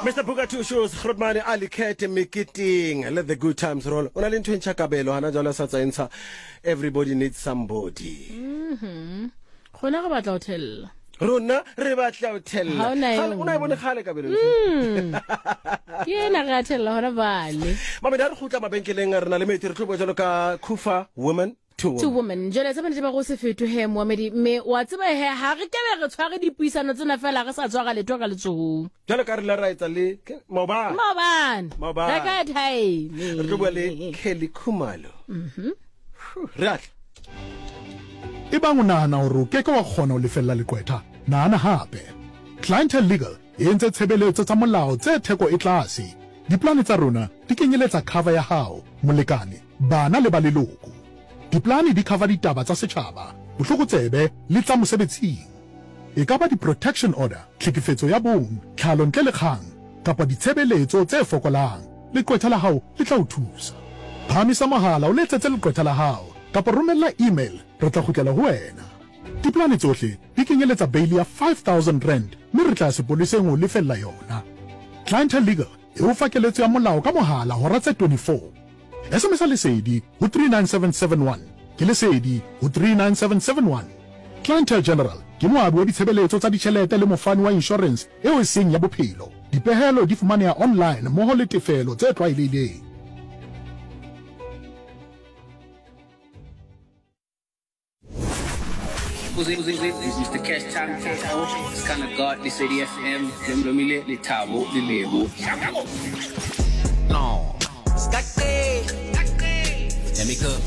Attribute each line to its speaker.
Speaker 1: Mr Booker Two Shoes Grootman a likhethe meketeng, let the good times roll. O na le ntho e ntšha kabelo hana jwale sa tsa entsha everybody needs somebody.
Speaker 2: Gona re batla ho thella.
Speaker 1: Rona re batla ho thella.
Speaker 2: Ha o na e
Speaker 1: Kgale- o na e bone kgale kabelo.
Speaker 2: Ke ena re a thella hona bale.
Speaker 1: Mamedi ha re kgutla mabenkeleng re na le metsi re tlo bua jwalo ka Kufa woman to
Speaker 2: To
Speaker 1: woman.
Speaker 2: woman. Jwale tsa bonnete ba go se fetohe moamedi mme wa tseba he ha re kebe re tshware dipuisano tsena fela re sa tshwara letho ka letsohong.
Speaker 1: Jwalo ka re ile ra etsa le maobane.
Speaker 2: Maobane.
Speaker 1: Maobane.
Speaker 2: Reka time.
Speaker 1: Re tlo bua le Kelly Khumalo. Re a tla.
Speaker 3: Ebang o nahana hore o ke ke wa kgona ho lefella leqwetha, nahana hape. Clientele Legal e entse tshebeletso tsa molao tse theko e tlase. Diplane tsa rona di kenyeletsa cover ya hao, molekane, bana le ba leloko. Diplane di cover ditaba tsa setjhaba, botlokotsebe le tsa mosebetsing. E ka ba di-protection order, tlhekefetso ya bong, tlhalo ntle le kgang, kapa ditshebeletso tse fokolang, leqwetha la hao le tla o thusa. Phahamisa mohala o letsetse leqwetha la hao kapa romella email re tla kgutlela ho wena. Dipolane tsohle di kenyeletsa beili ya R5000 mme re tla ya sepoleseng ho o lefella yona. Clientele Legal e o fa keletso ya molao ka mohala hora tse 24. SMS-a Lesedi ho 39771. Ke Lesedi ho 39771. Clientele General ke moabi wa ditshebeletso tsa ditjhelete le mofani wa inshorense eo e seng ya bophelo. Dipehelo di fumaneha online mmoho le tefelo tse tlwaelehileng.
Speaker 4: Mr Cash Time KO Skana God Lesedi FM le mlomile Lethabo le Lebo.
Speaker 5: No. Let me cook.